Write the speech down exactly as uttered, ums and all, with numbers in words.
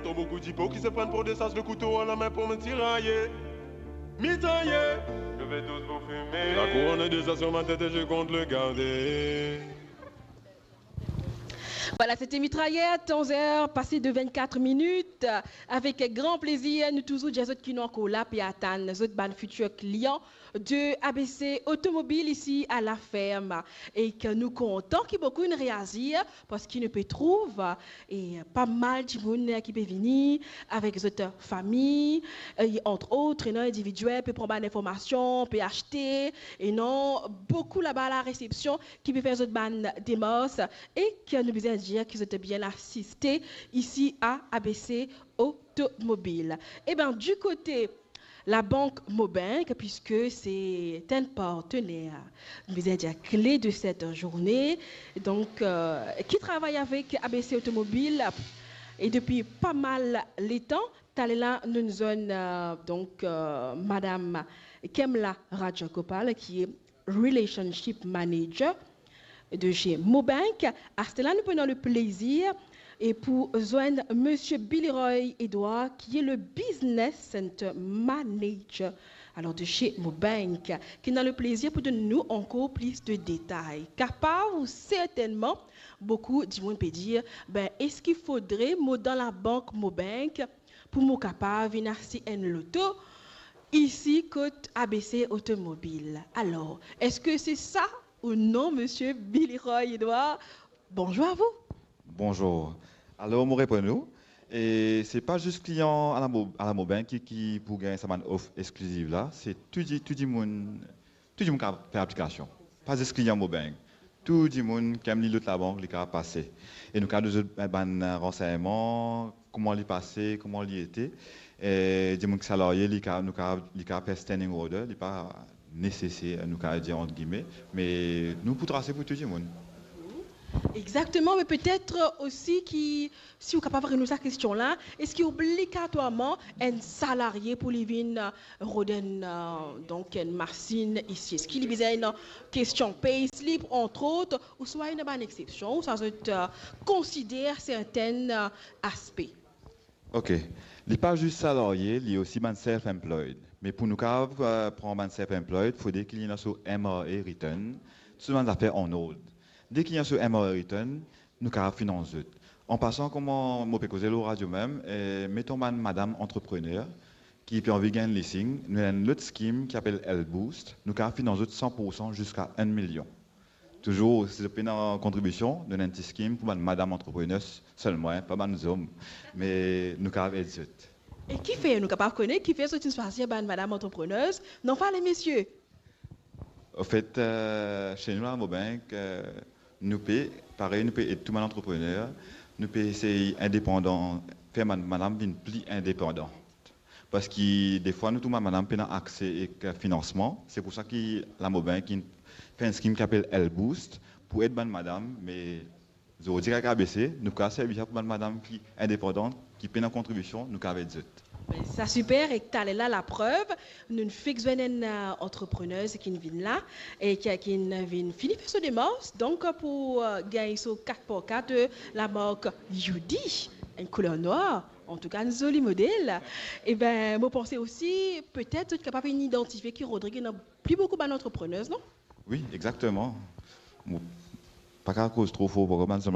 Trop beaucoup d'hypocrites se prennent pour des sas, le couteau à la main pour me tirailler, mitrailler. Je vais tous vous fumer. La couronne est déjà sur ma tête et je compte le garder. Voilà, c'était Mitraillette, onze heures passées de vingt-quatre minutes. Avec grand plaisir, nou touzour dir zot ki nou ankor la, pe atann zot bann fitir klian de A B C Automobile isi a La Ferme. E ki nou kontan ki boukou inn reazir, parski nou pe trouv, e, pa mal dimoun ki pe vini avek zot fami, e, entre autres, non, individiel, pe pran bann informasion, pe aste, e non, boukou laba la resepsion ki pe fer zot bann demars, e ki nou bizin dir ki zot bien asiste isi a A B C Automobile. Eben, du kote labank Mobank, puiske se enn partener, nou bizin dir, kle de set zourne, donk, euh, ki travay avek A B C Automobile, e depi pa mal letan, taler la, nou zwenn, euh, donk, euh, Madam Kemla Rajagopal, ki Relationship Manager de chez Mobank. Aster la, nou pou ena le plezir e pou zwenn Monsieur Billy Roy Edouard, ki le Business Center Manager, alors, de chez Mobank, ki ena le plezir pou donn nou ankor plis de detay. Kapav ou sertennman, boukou dimoun pe dir, ben, eski fodre mo dan labank Mobank pou mo kapav vinn aste enn loto isi kot A B C Automobile? Alors, eski se sa ou non, Monsieur Billy Roy Edouard? Bonjour à vous. Bonjour. Alors, mo reponn ou, e se pa zis klian a la Mo-, a la Mobank ki, ki pou gagn sa bann of exkliziv la, se tou di-, tou dimoun, tou dimoun kapav fer aplikasion. Pa zis klian Mobank. Tou dimoun ki ena li lot labank, li kapav pase. E nou kapav donn zot bann ransegnman, kouma li pase, kouma li ete. E dimoun ki salarie, li kapav, nou kapav, li kapav fer standing order, li pa neseser, nou kapav dir ant gime, me nou pou trase pou tou dimoun. Exactement, mais peut-être aussi ki, si ou kapav reponn sa kestion la, eski obligatwarman enn salarie pou li vinn, euh, rod enn, euh, donk enn masinn isi? Eski li bizin enn kestion payslip, entre autres, ouswa ena bann exception, ouswa zot, euh, konsider sertenn, euh, aspe? Ok. Li pa zis salarie, li osi bann self-employed. Me pou nou kapav, euh, pran bann self-employed, fode ki li ena so M R A return, tou bann zafer an ord. Deki li ena so M R A return, nou kapav finans zot. An pasan, kouma mo pe koze lor radio mem, eh, meton bann madam antreprener ki pe anvi gagn leasing, nou ena enn lot scheme ki apel L Boost, nou kapav finans zot san pour san ziska enn milion. Touzour, si zot pena kontribision, nou ena enn ti scheme pou bann madam antreprener selman, pa bann zom, me nou kapav ed zot. E kifer nou kapav kone kifer zot inn swazir bann madam antreprener, non pa lemesie? Anfet, euh, se nou la Mobank, euh, nou pe, parey nou pe ed tou bann antreprener, nou pe esey indepandan, fer bann madam vinn pli indepandan. Parski defwa nou trouv bann madam pena akse ek finansman, se pou sa ki la Mobank inn fer enn scheme ki apel L Boost pou ed bann madam, me zordi avek A B C, nou kapav servi sa pou bann madam ki indepandan, ki pena kontribision, nou kapav ed zot. Be sa siper, e taler la, laprev, nou fek zwenn enn, euh, antreprener ki'nn vinn la, e ki, ki'nn vinn fini fer so demars, donk pou, euh, gagn so kat par kat, euh, lamark Yudi, enn kouler nwar, antouka enn zoli model. Eben, mo panse osi, petet zot kapav inn idantifie ki Rodrig ena pli boukou bann antreprener, non? Wi, exakteman. Mo pa kapav koz tro for, parski bann zom